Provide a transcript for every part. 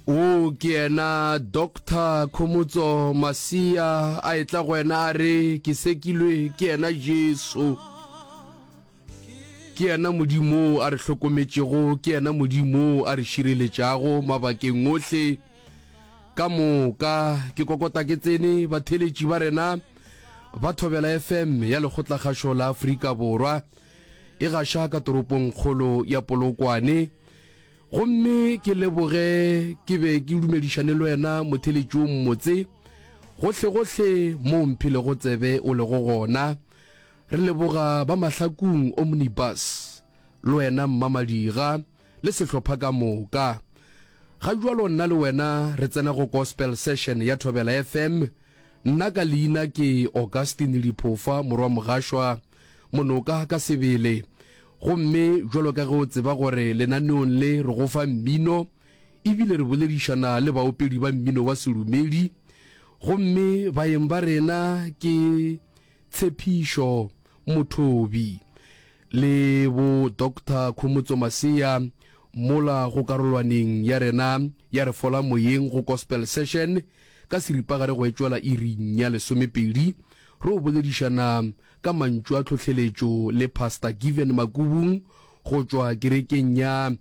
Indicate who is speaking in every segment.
Speaker 1: O ke yena Doctor Khomotso Masia a etla go wena a re, Ke sekilwe ke yena Jesu. Ke yena Modimo a re hlokometšego, ke yena Modimo a re šireletšago mabakeng ohle ka moka. Ke kokota ke tsene batheeletši ba rena ba Thobela FM ya Lekgotlakgašo la Afrika Borwa e gaša ka toropongkgolo ya Polokwane. Gomme ke leboge ke be ke dumedišane le wena motheletši o mmotse, gohlegohle mo o mphilego tsebe o lego gona. Re leboga ba Mahlakung Omnibus, le wena Mmamadira le sehlopha ka moka. Ga bjalo nna le wena re tsena go Gospel Session ya Thobela FM, nna ka leina ke Augustine Diphofa morwa Mogašwa Monoka ka sebele. Gomme bjalo ka ge o tseba gore lenaneong le re go fa mmino, ebile re boledišana le baopedi ba mmino wa sedumedi, gomme baeng ba rena ke Tshepišo Mothobi le bo Doctor Khomotso Masea mola go karolwaneng ya rena ya Re Fola Moyeng go Gospel Session ka seripagare go etšwela iring ya lesomepedi re o boledišana ka mantšu a tlhohleletšo le Pastor Given Makubung go tšwa kerekeng ya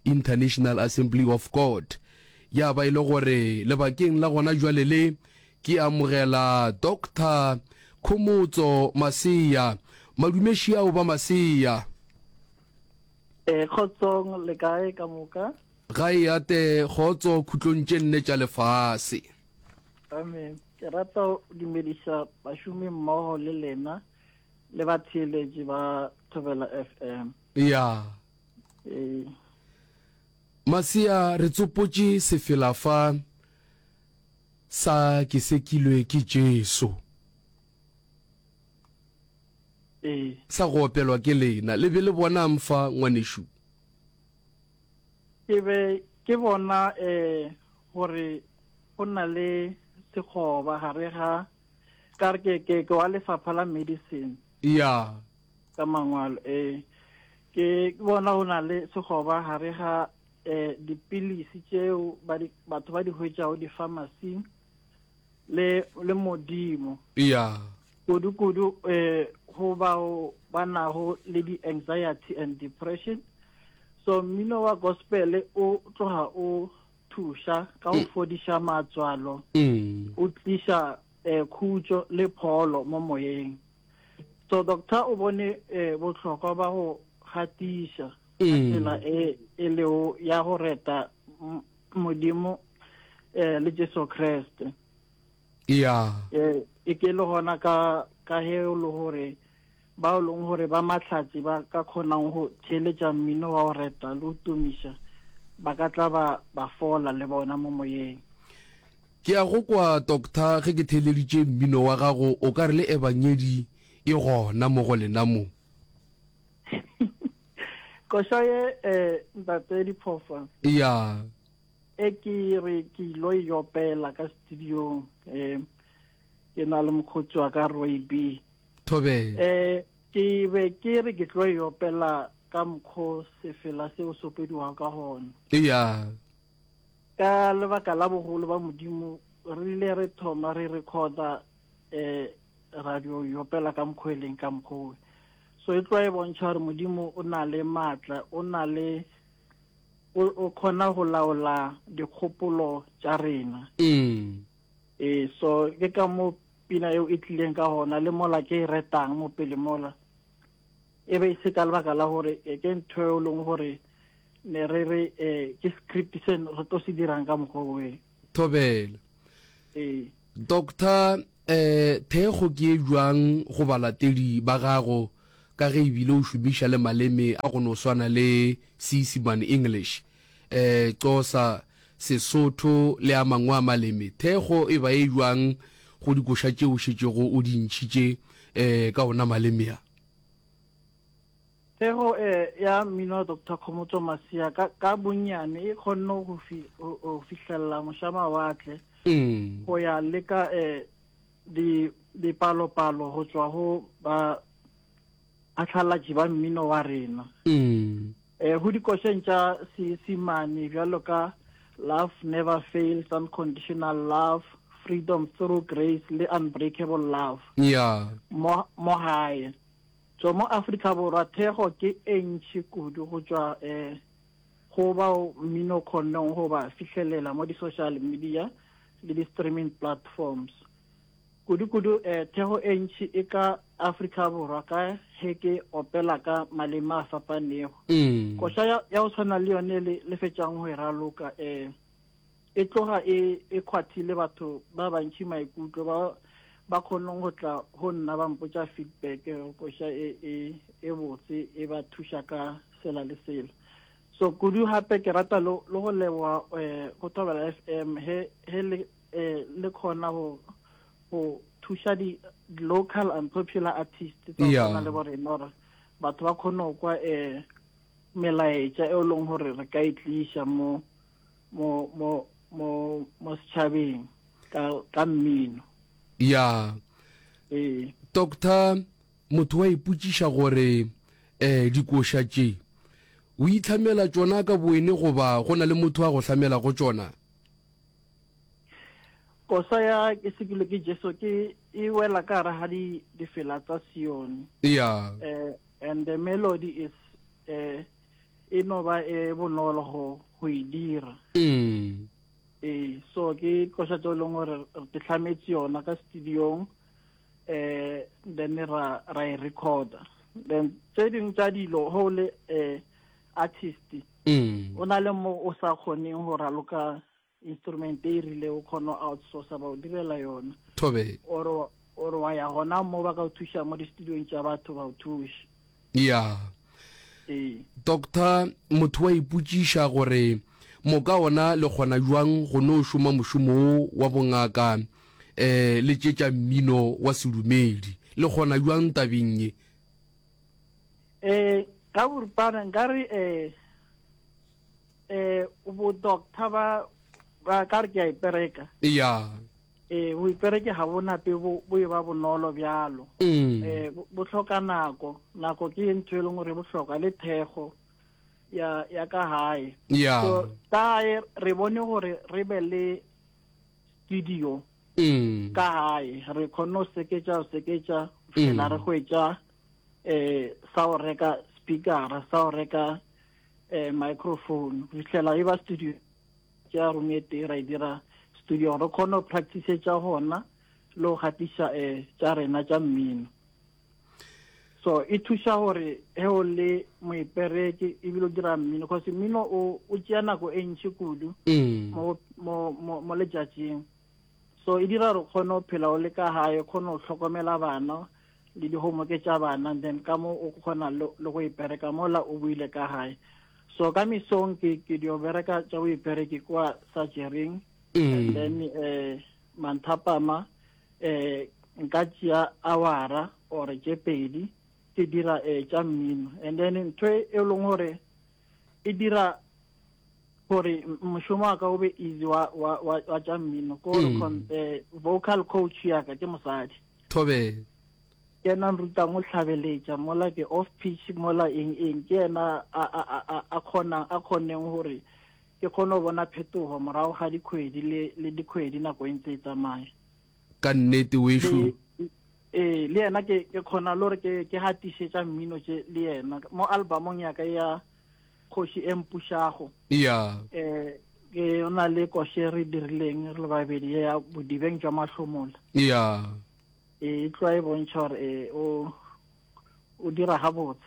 Speaker 1: International Assembly of God. Ya ba e le gore lebakeng la gona jwale le ke amogela Doctor Khomotso Masea. Madumeši ao ba Masea.
Speaker 2: E, kgotsong le kae ka moka?
Speaker 1: Ga e ate kgotso khutlong tše nne tša lefase.
Speaker 2: Amen. Ke rata go dumediša bašomi mmogo le lena le batheeletši ba Thobela FM.
Speaker 1: Ya.
Speaker 2: Ee.
Speaker 1: Masea, re tsopotše sefela fa sa Ke sekilwe ke Jesu.
Speaker 2: Ee.
Speaker 1: Sa go opelwa ke lena. Le be le bonang fa, ngwanešu?
Speaker 2: Ke be ke bona um gore go na le sekgoba gare ga ka re ke ke ke wa lefapha la medicine.
Speaker 1: Ya.
Speaker 2: Ka mangwalo ee. Ke bona go na le sekgoba gare ga eh dipilisi tšeo ba di batho ba di hwetšago di-pharmacy le le modimo.
Speaker 1: Ya.
Speaker 2: Kudu kudu eh go bao ba nago le di-anxiety and depression. So mmino wa gospel o tloga o thuša ka go mm. fodiša matswalo
Speaker 1: mm.
Speaker 2: o tliša eh, khutšo le pholo mo moyeng so doctor o bone eh, bohlokwa ba go gatiša ka mm. tsela e e leo ya go reta modimo eh, le jesu kriste
Speaker 1: ya
Speaker 2: eh, e ke le gona ka ka he o le gore Bao e leng gore ba mahlatse ba ka kgonang go theeletša mmino wa go reta le go tumiša ba ka tla ba ba fola le bona mo moyeng.
Speaker 1: Ke a go kwa, Doctor, ge ke theeleditše mmino wa gago, o ka re le Ebangedi e gona mo go lena mo.
Speaker 2: Koša ye, eh, Ntate Diphofa.
Speaker 1: Ya.
Speaker 2: E ke re ke ilo e opela ka studiong, eh, ke na le mokgotsi wa ka Roy B.
Speaker 1: Thobela.
Speaker 2: Eh, ke be ke re ke tlo e opela ka mokgo sefela seo se opediwago ka gona.
Speaker 1: Eya.
Speaker 2: Ka lebaka la bogolo ba Modimo, re ile re thoma re recorda eh radio e opela ka mokgo e leng ka mokgo. So e tloa e bontšha gore Modimo o na le maatla, o na le o kgona go laola dikgopolo tša rena.
Speaker 1: Mm.
Speaker 2: Eh so ke ka mo pina eo e tlileng ka gona le mola ke e retang mo pele mola e be e se ka lebaka la gore e ke ntho e leng gore ne re re um ke script se re tlo se dirang ka mokgwa oe
Speaker 1: thobela
Speaker 2: ee
Speaker 1: doctor um thekgo ke e jwang go balatedi ba gago ka ge ebile o šomiša le maleme a go no swana le Seisemane English um Xhosa Sesotho le a mangwe a maleme. Thekgo e ba e bjang go dikoša tše o šetšego o di ntšhitše um ka ona maleme a?
Speaker 2: Thekgo ya mmino wa Doctor Khomotso Masia ka, ka bonnyane e kgonne go, fi, go, go fihlelela mošamawatle
Speaker 1: mm.
Speaker 2: go ya le ka um di, dipalopalo go tšwa go ba phatlalatši ba mmino wa rena.
Speaker 1: Mm.
Speaker 2: Eh, go dikošeng tša Seisemane bjalo ka Love Never Fails, Unconditional Love, Freedom Through Grace le Unbreakable Love.
Speaker 1: Yeah.
Speaker 2: Mo mo gae. So mo Afrika Borwa thekgo ke e ntši kudu go tšwa eh go bao mmino o kgonneng go ba fihlelela mo di-social media le di-streaming platforms. Kudu-kudu eh thekgo e ntši e ka Afrika Borwa ka he ke opela ka maleme a fapanego.
Speaker 1: Mm.
Speaker 2: Koša ya, ya go tshwana le yone le, le fetšang go e raloka eh e tloga e e kgwathile batho ba bantši maikutlo ba ba kgoneng go tla go nna ba mpotša feedback koša e e e botse e ba thuša ka sela le sela. So kudu gape ke rata le le go leboga eh go Thobela FM he he le eh le kgona go go thuša di local and popular artists tsa go tshwana le bo rena gore batho ba kgone go kwa eh melaetša e leng gore re ka e tliša mo mo mo mo mo setšhabeng ka ka mmino.
Speaker 1: Ya.
Speaker 2: Ee.
Speaker 1: Doctor, motho wa ipotšiša gore eh dikoša tše o itlhamela tšona ka bowene goba go na le motho a go hlamelago tšona?
Speaker 2: Kosa ya ke sekilwe ke Jesu ke e wela ka gare ga di difela tsa Sione.
Speaker 1: Ya.
Speaker 2: Eh and the melody is eh e no ba e bonolo go go e dira.
Speaker 1: Mm.
Speaker 2: Ee, so ke koša tse e leng gore re ke tlhametse yona ka studiong eh then ra ra e recorda. Then tse dingwe tsa dilo go le eh artist
Speaker 1: mm.
Speaker 2: o na le mo o sa kgoneng go raloka instrument e rile o kgone go outsourca ba o direla yona
Speaker 1: thobe
Speaker 2: or or wa ya gona mo ba ka o thuša mo di-studiong tša batho ba o thuša.
Speaker 1: Ya.
Speaker 2: Ee.
Speaker 1: Doctor, motho wa ipotšiša gore moka ona le kgona bjang go no šoma mošomo wo wa bongaka um le tše tša mmino wa sedumedi. Le kgona bjang tabeng ye?
Speaker 2: Eh, ka boripana nkare eh eh bo doctor ba ba ka re ke a ipereka.
Speaker 1: Ya.
Speaker 2: Eh boipereke ga bo nape bo bo e ba bonolo bjalo.
Speaker 1: Mm.
Speaker 2: Eh bo hloka nako, nako ke ntho e leng gore e bohlokwa le thekgo ya ya ka gae.
Speaker 1: Ya.
Speaker 2: So ka gae re bone gore re be le studio
Speaker 1: Mm.
Speaker 2: ka gae, re kgonne go seketša go seketša fela re hwetša eh sa go reka speakera, sa go reka eh microphone, go fihlela e ba studio tša room e tee ra e dira studio gore re kgone go practice-etša gona le go gatiša eh tša rena tša mmino. So e thuša gore he o le moipereki ebile o dira mmino, cause mmino o o tšea nako e ntši kudu
Speaker 1: Mm.
Speaker 2: mo mo mo mo letšatšing. So e dira gore o kgone go phela o le ka gae, o kgone go hlokomela bana le di-homework tša bana, then ka mo o kgona le le go ipereka mola o boile ka gae. So ka mesong ke ke dio bereka tša boipereki kwa surgery-ing, and
Speaker 1: Mm.
Speaker 2: then eh manthapama eh nka tšea awara or tše pedi ke dira eh tša mmino, and then ntho e e leng gore e dira gore mošomo wa ka o be easy wa wa wa, wa tša mmino ke gore
Speaker 1: Mm.
Speaker 2: eh, vocal coach ya ka ke mosadi.
Speaker 1: Thobe.
Speaker 2: Ke yena a nrutang go hlabeletša mola ke off pitch mola eng eng, ke yena a a a a a kgonang a kgonneng gore ke kgone go bona phetogo morago ga dikgwedi le le dikgwedi nako e ntse e tsamaya.
Speaker 1: Ka nnete wešo.
Speaker 2: Le ee le yena ke ke kgona le gore ke ke gatiše tša mmino tše le yena mo albumong ya ka ya Kgoši e Mpušago.
Speaker 1: Ya.
Speaker 2: Eh ke o na le koše re dirileng re le babedi ya bodibeng jwa mahlomola.
Speaker 1: Ya.
Speaker 2: E tloa e bontšha gore e o o dira gabotse.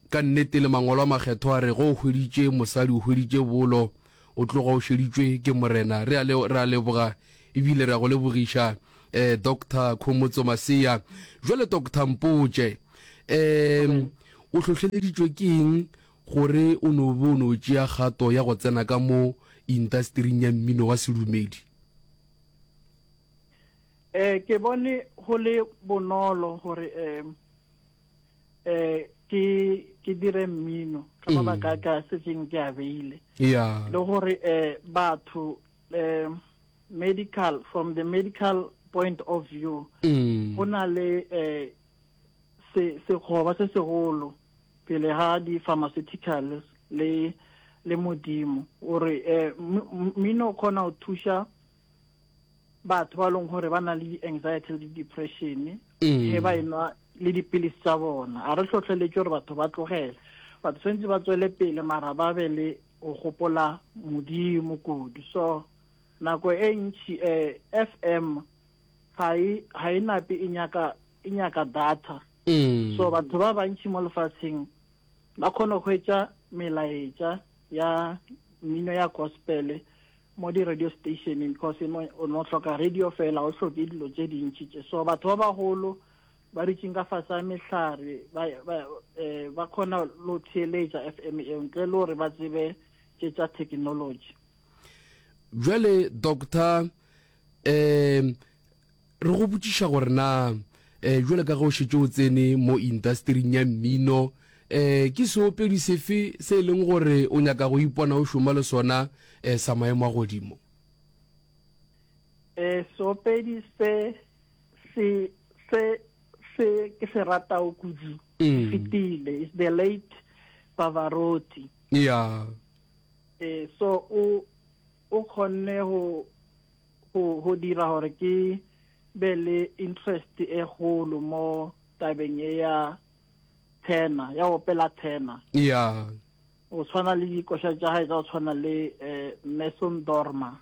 Speaker 1: Ka nnete le mangwalo a makgethwa a re ge o hweditše mosadi o hweditše bolo, o tloga o šeditšwe ke Morena. Re a le re a leboga ebile re a go lebogiša eh Doctor Khomotso Maseya. Jwale Doctor mpotše um o hlohleleditšwe ke eng gore o no be o no tšea kgato ya go tsena ka mo intastering ya mmino wa sedumedi?
Speaker 2: Eh ke bone go le bonolo gore eh eh ke ke dire mmino ka mabaka a ka setseng ke a beile.
Speaker 1: Yeah.
Speaker 2: Le gore eh batho eh medical, from the medical point of view,
Speaker 1: Mm.
Speaker 2: go na le eh se sekgoba se segolo pele ga di-pharmaceuticals le le Modimo. Gore eh, mmino o kgona go thuša batho ba leng gore ba na le di-anxiety le di-depression ge ba enwa le dipilisi tsa bona. A re hlohleletše gore batho ba tlogele, batho tshwanetse ba tswele pele mara ba be le go gopola Modimo kudu. So nako e ntši eh, FM ga e ga e nape e nyaka e nyaka data. So batho ba bantši mo lefatsheng ba kgona go hwetša melaetša ya mmino ya gospel mo di-radio stationeng, because o no hloka radio fela, o hloke dilo tše dintši tše. So batho ba bagolo ba dutšeng ka fase ga mehlare ba, ba, eh, ba kgona lo theeletša FM eo ntle le gore ba tsebe tše tša technology.
Speaker 1: Bjale doctor, um re go botšiša gore na um jwale ka ge o šetše o tsene mo industering ya mmino, um ke seopedi sefe se e leng gore o nyaka go ipona o šoma le sona um sa maemo a godimo?
Speaker 2: Um seopedi se se se se ke se ratago kudu mm. fetile is the late Pavarotti.
Speaker 1: Yeah.
Speaker 2: Eh, so o o kgonne go go go dira gore ke be le interest e golo mo tabeng e ya tenor, ya opela tenor.
Speaker 1: Yeah.
Speaker 2: O tshwana le dikoša tša gae tsa go tshwana le eh, Mason Dorma.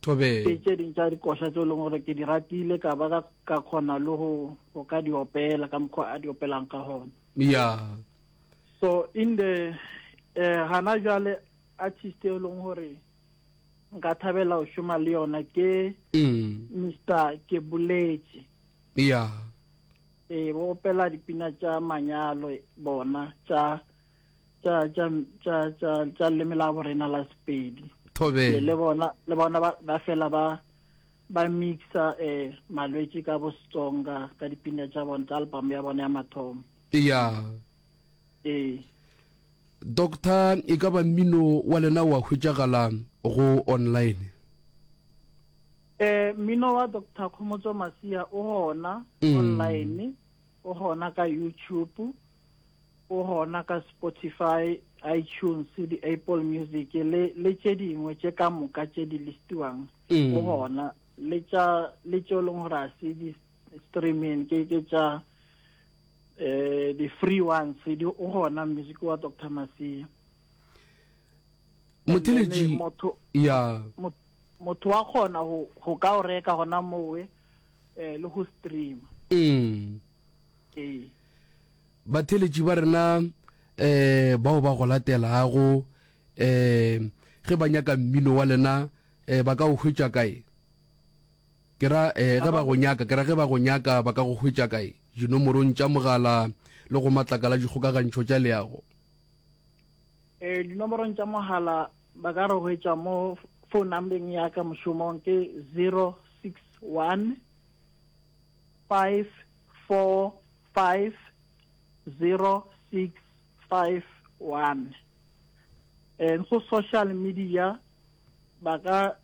Speaker 1: Thobela.
Speaker 2: Ke tše ding tša dikoša tse e leng gore ke di ratile ka ba ka kgona le go go ka di opela ka mokgwa a di opelang ka gona.
Speaker 1: Yeah.
Speaker 2: So in the eh gana jwale artist e leng gore nka thabela go šoma le yona ke
Speaker 1: mm.
Speaker 2: Mr Keboletše.
Speaker 1: Yeah.
Speaker 2: Eh bo opela dipina tša manyalo bona tša tša tša tša tša tša leme la borena la Sepedi.
Speaker 1: Thobela.
Speaker 2: Le bona le bona ba, ba fela ba ba mixa eh malwetši ka bo Setsonga ka dipina tša bona tša album ya bona ya mathomo.
Speaker 1: Yeah.
Speaker 2: Ee.
Speaker 1: Doctor, e ka ba mmino wa lena wa hwetšagala go online?
Speaker 2: Eh, mmino wa Doctor Khomotso Masia o gona mm. online, o gona ka YouTube, o gona ka Spotify, iTunes, di-Apple Music le le tše dingwe tše ka moka tše di listiwang mm. o gona le tša le tše e leng gore a se di streaming ke ke tša eh di free ones di o gona music wa Dr Masia.
Speaker 1: Motheletši
Speaker 2: motho
Speaker 1: ya
Speaker 2: motho wa kgona go go ka o reka gona mowe eh le go stream.
Speaker 1: Mm.
Speaker 2: Ee.
Speaker 1: Batheletši ba rena eh bao ba go latelago eh ge ba nyaka mmino wa lena eh ba ka o hwetša kae? Ke ra, eh, ge ba go nyaka, ke ra ge ba go nyaka, ba ka go hwetša kae? Dinomorong tša mogala le go matlakala a dikgokagantšho tša leago.
Speaker 2: Eh, dinomorong tša mogala ba ka re hwetša mo phone numbeng ya ka mošomong ke 061 545 0651. Eh, go social media ba ka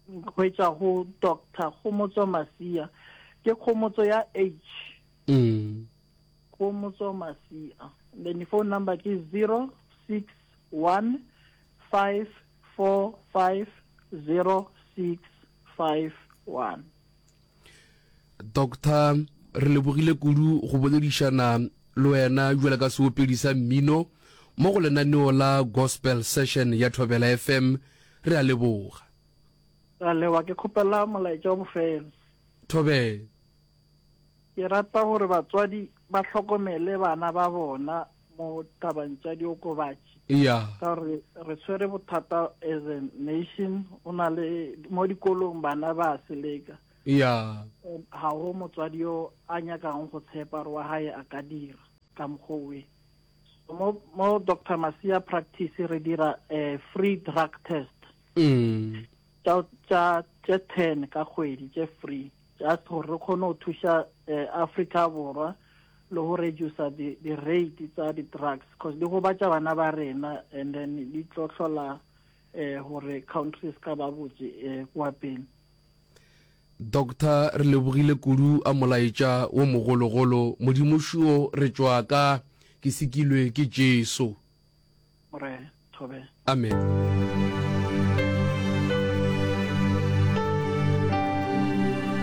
Speaker 2: hwetša go Doctor Kgomotso Masia. Ke Kgomotso ya H.
Speaker 1: Mm.
Speaker 2: Kgomotso Masia. Then phone number ke 061 545 0651.
Speaker 1: Doctor, re lebogile kudu go boledišana le wena bjalo ka seopedi sa mmino mo go lenaneo la Gospel Session ya Thobela FM. Re a leboga.
Speaker 2: Ra leboga. Ke kgopela molaetša wa bofelo.
Speaker 1: Thobela.
Speaker 2: Ke rata gore batswadi ba hlokomele bana ba bona mo tabang tša diokobatši.
Speaker 1: Ya.
Speaker 2: Ka gore re tshwere bothata as a nation, o na le mo dikolong bana ba seleka.
Speaker 1: Ya.
Speaker 2: Ga go motswadi yo a nyakang go tshepa gore wa hae a ka dira ka mokgwa owe. Mo, mo Doctor Masia practice re dira eh, free drug test.
Speaker 1: Mm.
Speaker 2: Tša, tša, tše 10 ka kgwedi tše free. Just gore re kgone go thuša eh, Afrika Borwa le go reducer di, di rate tsa di drugs cause di gobatša bana ba rena and then di tlo hlola eh, gore country se ka ba botse eh, kwa pele.
Speaker 1: Doctor re lebogile kudu a molaetša wo mogologolo Modimo šuo re tšwa ka ke sikilwe ke Jesu.
Speaker 2: Morena. Thobela.
Speaker 1: Amen.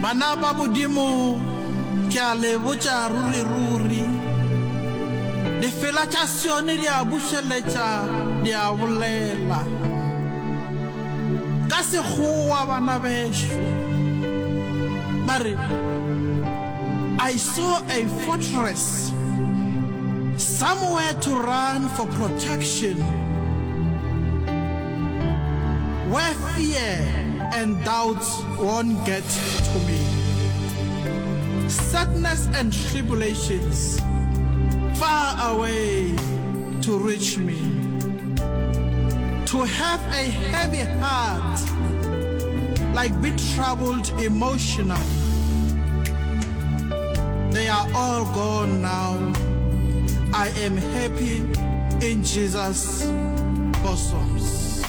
Speaker 3: Bana ba Modimo, ke a le botša ruri-ruri, difela tša Sione di a bušeletša, di a bolela. Ka Sekgowa, bana bešo, ba re, I saw a fortress somewhere to run for protection, where fear and doubts won't get to me. Sadness and tribulations far away to reach me. To have a heavy heart, like be troubled emotionally. They are all gone now. I am happy in Jesus' bosoms.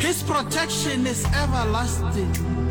Speaker 3: His protection is everlasting.